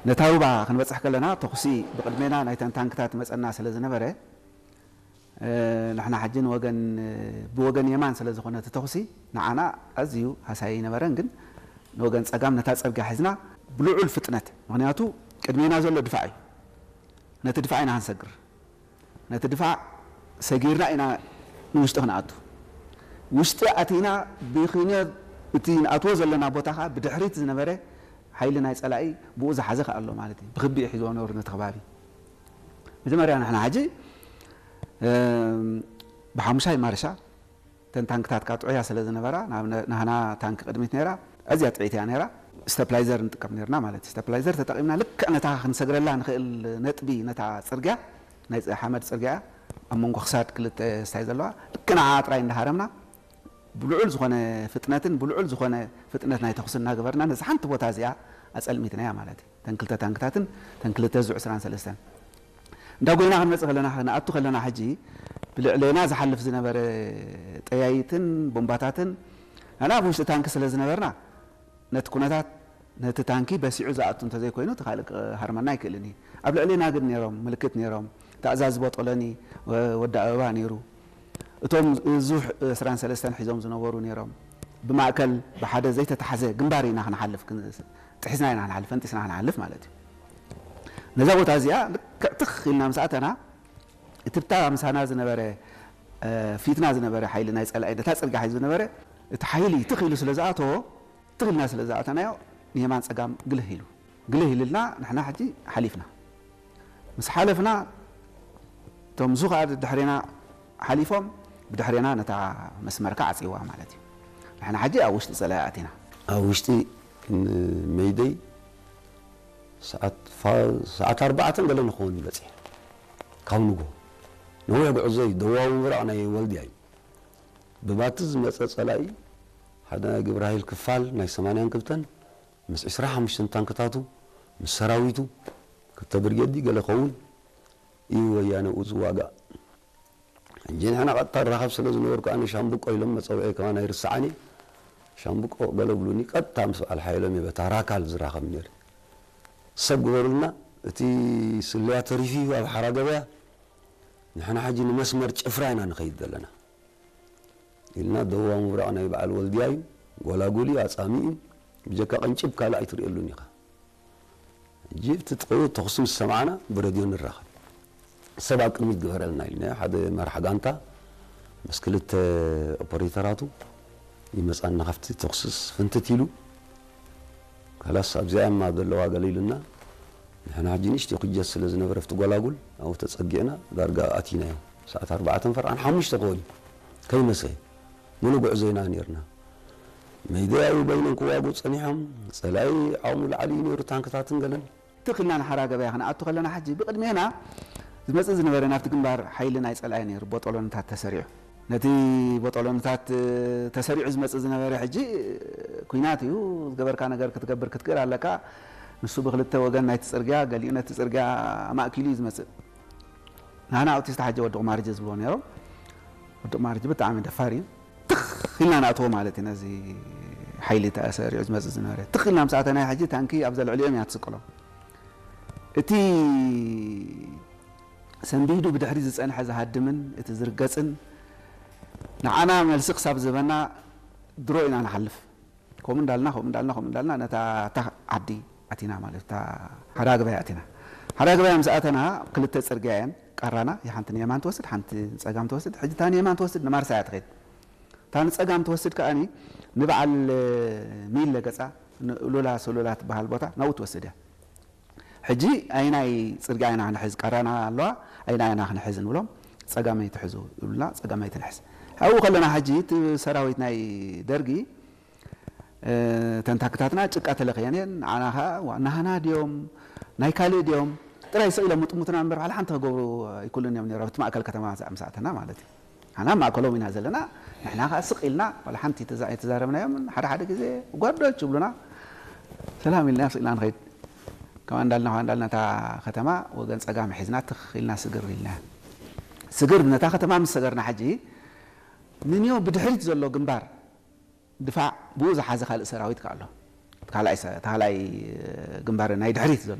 ነታ ሩባ ክንበጽሕ ከለና፣ ተኹሲ ብቕድሜና ናይተን ታንክታት መጸና ስለ ዝነበረ፣ እ፣ ንሕና ሕጂ ንወገን፣ ብወገን የማን ስለ ዝኾነ እቲ ተኹሲ፣ ንዓና ኣዝዩ ሃሳዪ ኣይነበረን። ግን ንወገን ጸጋም ነታ ጽርግያ ሒዝና ብልዑል ፍጥነት፣ ምኽንያቱ ቅድሜና ዘሎ ድፋዕ እዩ። ነቲ ድፋዕ ኢና ክንሰግር። ነቲ ድፋዕ ሰጊርና ኢና ንውሽጢ ክንኣቱ። ውሽጢ ኣቲና ብኽንዮ እቲ ንኣትዎ ዘለና ቦታ ኸኣ ብድሕሪት ዝነበረ ሓይሊ ናይ ጸላኢ ብኡ ዝሓዘ ኸኣ ኣሎ ማለት እዩ። ብኽቢኡ ሒዝዎ ነሩ ነቲ ከባቢ። መጀመርያ ንሕና ሕጂ፣ እም፣ ብሓሙሻይ ማርሻ እተን ታንክታት ከኣ ጥዑያ ስለ ዝነበራ፣ ናብ ነ-፣ ናህና ታንክ ቅድሚት ነይራ፣ ኣዝያ ጥዕይቲ እያ ነይራ። ስተፕላይዘር ንጥቀም ነርና ማለት እዩ። ስተፕላይዘር ተጠቒምና ልክዕ ነታ ክንሰግረላ ንኽእል ነጥቢ፣ ነታ ጽርግያ፣ ናይ ጽ-፣ ሓመድ ጽርግያ እያ፣ ኣብ መንጎ ክሳድ ክልተ ስታይ ዘለዋ፣ ልክዕ ንዓኣ ጥራይ እንዳሃረምና፣ ብልዑል ዝኾነ ፍጥነትን ብልዑል ዝኾነ ፍጥነት ናይ ተኹሲ እናገበርና፣ ነዛ ሓንቲ ቦታ እዚኣ ኣጸልሚትናያ ማለት እዩ። እተን ክልተ ታንክታትን እተን ክልተ ዙ ዕስራን ሰለስተን። እንዳ ጎይና ክንመጽእ ከለና፣ ክንኣቱ ከለና፣ ሕጂ ብልዕሌና ዝሓልፍ ዝነበረ ጠያይትን ቦምባታትን፣ ንሕና ኣብ ውሽጢ ታንኪ ስለ ዝነበርና፣ ነቲ ኩነታት፣ ነቲ ታንኪ በሲዑ ዝኣቱ እንተዘይኮይኑ፣ እቲ ካልእ ክሃርመና ኣይክእልን እዩ። ኣብ ልዕሌና ግን ነይሮም፣ ምልክት ነይሮም። እቲ ኣዛዚ ቦጦሎኒ፣ ወ-፣ ወዲ ኣበባ ነይሩ። እቶም ዙ ዕስራን ሰለስተን ሒዞም ዝነበሩ ነይሮም። ብማእከል ብሓደ ዘይተታሕዘ ግንባር ኢና ክንሓልፍ፣ ክን-፣ ጥሒስና ኢና ክንሓልፍ፣ ፈንጢስና ክንሓልፍ ማለት እዩ። ነዛ ቦታ እዚኣ ልክዕ ትኽ ኢልና ምስ ኣተና፣ እቲ ብታ ምሳና ዝነበረ፣ እ፣ ፊትና ዝነበረ ሓይሊ ናይ ጸላኢ፣ ነታ ጽርግያ ሒዙ ዝነበረ፣ እቲ ሓይሊ ትኽ ኢሉ ስለ ዝኣተዎ፣ ትኽ ኢልና ስለ ዝኣተናዮ፣ ንየማን ጸጋም ግልህ ኢሉ። ግልህ ኢሉልና፣ ንሕና ሕጂ ሓሊፍና። ምስ ሓለፍና፣ እቶም ዙ ኸኣ ድሕሬና ሓሊፎም፣ ብድሕሬና ነታ መስመር ከኣ ዓጽይዋ ማለት እዩ። ንሕና ሕጂ ኣብ ውሽጢ ጸላኢ ኣቲና። ኣብ ውሽጢ ን-፣ መይደይ ሰዓት ፋ-፣ ሰዓት ኣርባዕተን ገለ ንኸውን በጺሕ። ካብ ንጎ። ነዊሕ ጉዕዞ እዩ። ደቡባዊ ምብራቕ ናይ ወልድያ እዩ። ብባቲ ዝመጸ ጸላኢ፣ ሓደ ናይ ግብረ ሃይል ክፋል ናይ ሰማንያን ክልተን ምስ ዕስራ ሓሙሽተን ታንክታቱ፣ ምስ ሰራዊቱ፣ ክልተ ብርጌድ ገለ ኸውን እዩ ወያነ ኣብኡ ዝዋጋእ። ሕጂ ንሕና ቀጥታ ንራኸብ ስለ ዝነበርኩ፣ ኣነ ሻምብቆ ኢሎም መጸውዒ ከማን ኣይርስዓን እየ። ሻምብቆ ገለ ብሉኒ፣ ቀጥታ ምስ በዓል ሓየሎም እየ በታ ራካል ዝራኸብ ነይረ። ሰብ ግበሩልና፣ እቲ ስለያ ተሪፉ እዩ ኣብ ሓራ ገበያ፣ ንሕና ሕጂ ንመስመር ጭፍራ ኢና ንኸይድ ዘለና ኢልና፣ ደቡባዊ ምብራቕ ናይ በዓል ወልድያ እዩ፣ ጎላጉል እዩ፣ ኣጻሚ እዩ፣ ብጀካ ቅንጭብ ካልእ ኣይትርእየሉን ኢኻ። ሕጂ እቲ ጥቕኡ ተኹሲ ምስ ሰማዕና ብረድዮ ንራኸብ። ሰብ ኣብ ቅድሚት ግበረልና ኢልናዮ። ሓደ መራሕ ጋንታ ምስ ክልተ ኦፐሬተራቱ ይመጻና፣ ካብቲ ተኹስስ ፍንትት ኢሉ፣ ካላስ ኣብዚኣ እማ ዘለዋ ገለ ኢሉና። ንሕና ሕጂ ንእሽተይ ኩጀት ስለ ዝነበረ ኣብቲ ጎላጉል ኣብኡ ተጸጊዕና ዳርጋ ኣቲናዮ። ሰዓት ኣርባዕተን ፈርቓን ሓሙሽተ ክኾን እዩ፣ ከይመሰየ። ምሉእ ጉዕዞ ኢና ነይርና። መይደያዊ በይኖም ክዋግኡ ጸኒሖም። ጸላኢ ዓቕሙ ላዕሊ እዩ ነይሩ፣ ታንክታትን ገለን። ትኽ ኢልና ንሓራ ገበያ ክንኣቱ ከለና፣ ሕጂ ብቕድሜና ዝመጽእ ዝነበረ ናብቲ ግንባር ሓይሊ ናይ ጸላኢ ነይሩ፣ ቦጦሎንታት ተሰሪዑ። ነቲ ቦጦሎንታት፣ እ፣ ተሰሪዑ ዝመጽእ ዝነበረ፣ ሕጂ፣ እ፣ ኲናት እዩ፣ ዝገበርካ ነገር ክትገብር ክትክእል ኣለካ። ንሱ ብክልተ ወገን ናይቲ ጽርግያ፣ ገሊኡ ነቲ ጽርግያ ኣማእኪሉ እዩ ዝመጽእ። ናህና ኣውቲስታ ሕጂ ወዲ ቁማርጀ ዝብልዎ ነይሮም። ወዲ ቁማርጀ ብጣዕሚ ደፋር እዩ። ትኽ ኢልና ንኣትዎ ማለት እዩ፣ ነዚ ሓይሊ ተሰሪዑ ዝመጽእ ዝነበረ። ትኽ ኢልና ምስ ኣተናዮ፣ ሕጂ ታንኪ ኣብዛ ልዕሊኦም እያ ትስቅሎ። እቲ ሰንቢዱ ብድሕሪ ዝጸንሐ ዝሃድምን እቲ ዝርገጽን፣ ንዓና መልሲ ክሳብ ዝህበና ድሮ ኢና ንሓልፍ። ከምኡ እንዳልና፣ ከምኡ እንዳልና፣ ከምኡ እንዳልና ነታ፣ እታ ዓዲ ኣቲና ማለት፣ እታ ሓራ ገበያ ኣቲና። ሓራ ገበያ ምስ ኣተና፣ ክልተ ጽርግያ እየን፣ ቃራና፣ ሓንቲ ንየማን ትወስድ፣ ሓንቲ ንጸጋም ትወስድ። ሕጂ እታ ንየማን ትወስድ ንማርሳ እያ ትኸይድ። እታ ንጸጋም ትወስድ ከኣኒ ንበዓል ሚለ ገጻ፣ ንሉላ ሶሎላ ትበሃል ቦታ፣ ናብኡ ትወስድ እያ። ሕጂ ኣይናይ ጽርግያ ኢና ክንሕዝ፣ ቀረና ኣለዋ፣ ኣይና ኢና ክንሕዝ ንብሎም፣ ጸጋመይ ትሕዙ ይብሉና፣ ጸጋመይ ትንሕዝ። ኣብኡ ከለና ሕጂ እቲ ሰራዊት ናይ ደርጊ፣ እ፣ ተንታክታትና ጭቃ ተለኽየን እየን፣ ንዓና ኸኣ ዋ-፣ ናህና ድዮም፣ ናይ ካልእ ድዮም፣ ጥራይ ስቕ ኢሎም ምጥሙትና እምበር፣ ዋላ ሓንቲ ክገብሩ ኣይክእሉን እዮም ነይሮም፣ ኣብቲ ማእከል ከተማ ምስ ኣተና ማለት እዩ። ኣና ማእከሎም ኢና ዘለና፣ ንሕና ኸኣ ስቕ ኢልና፣ ዋላ ሓንቲ ተዛ-፣ ኣይተዛረብናዮምን። ሓደ ሓደ ግዜ ጓዶች ይብሉና፣ ሰላም ኢልና ስቕ ኢልና ንኸይድ። ከምኣ እንዳልና፣ ከምኣ እንዳልና እታ ከተማ ወገን ጸጋም ሒዝና ትኽ ኢልና ስግር ኢልና። ስግር ነታ ከተማ ምስ ሰገርና ሕጂ፣ ንንዮ ብድሕሪት ዘሎ ግንባር ድፋዕ ብኡ ዝሓዘ ካልእ ሰራዊት ከኣ ኣሎ። ካልኣይ ሰ-፣ ካልኣይ ግንባር ናይ ድሕሪት ዘሎ።